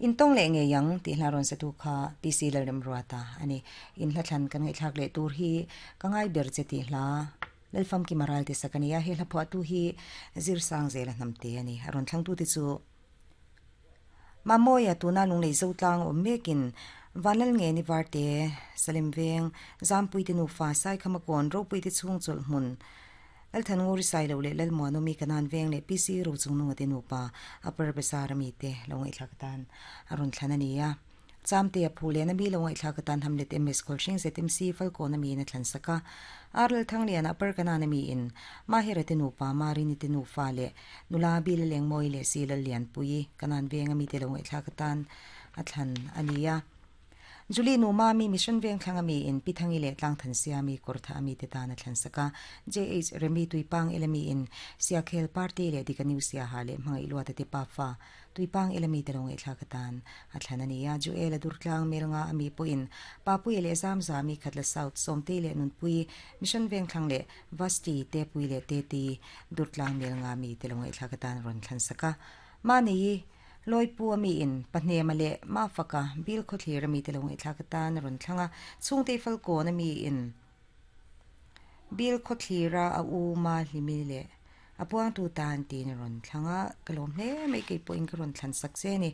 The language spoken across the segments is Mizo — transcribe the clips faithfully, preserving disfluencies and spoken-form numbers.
In tong le nge yang ti hla ron sa tu kha P C Lalrem Ruata ani in hla thlan kan ngai thlak le tur hi ka ngai ber che ti hla lalfam ki maral te sakania he hla phwa tu hi zir sang zela nam te ani ron thlang tu ti chu mamoya tuna lunglei zo tlang om mekin vanlal nge ni varte salim veng zampui te nu fa sai khamakon ropui te chung chol hmun lalthan nguri sai lo le lal muano mi kanan veng le P C ro chung nunga te nu pa upper besar mi te longai thlakatan arun thlan ania chamte a phule na mi longai thlakatan hamlet M S Kholshing Z M C falko na mi na thlan saka arl thanglian upper kanan mi in mahira te nu pa mari ni te nu fa le nula bil leng moi le silal lian pui kanan veng ami te longai thlakatan athlan ania Julie nu mami mission veng thlanga mi in pithangi le tlang than siami kortha ami te ta na thlan saka J H Remi tuipang elemi in siakhel party le dikaniu sia ha le mangai lua te pa fa tuipang elemi te long e thlakatan a thlan ania Joel durtlang melnga ami po in papui le zam zami khatla south somte le nunpui mission veng thlang le vasti te pui le te ti durtlang melnga mi te long e thlakatan ron thlan saka mani loi pu ami in pahne male ma faka bil kho thlir ami te long e thlakatan ron thlanga chungte fal ko na mi in bil kho thlira a u ma hlimi le apuang tu tan tin ron thlanga kalom hle mai ke po in ka ron thlan sak che ni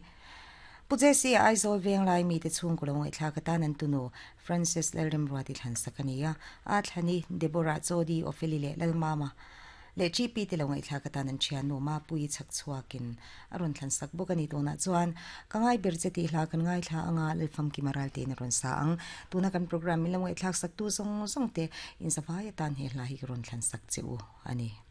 puje si Aizawl veng lai mi te chung kolong e thlakatan an tunu Francis Lalrem Ruati thlan sakania a thlani Deborah Chodi Opheli le Lalmama le G P te longai thlakatan an thian nu ma pui chak chuakin aron thlan sak bokani tuna chuan kangai berche ti hla kan ngai thla anga lalfam ki maral te na ron sa ang tuna kan program mi longai thlak sak tu song song te in safaya tan he hla hi ron thlan sak cheu ani.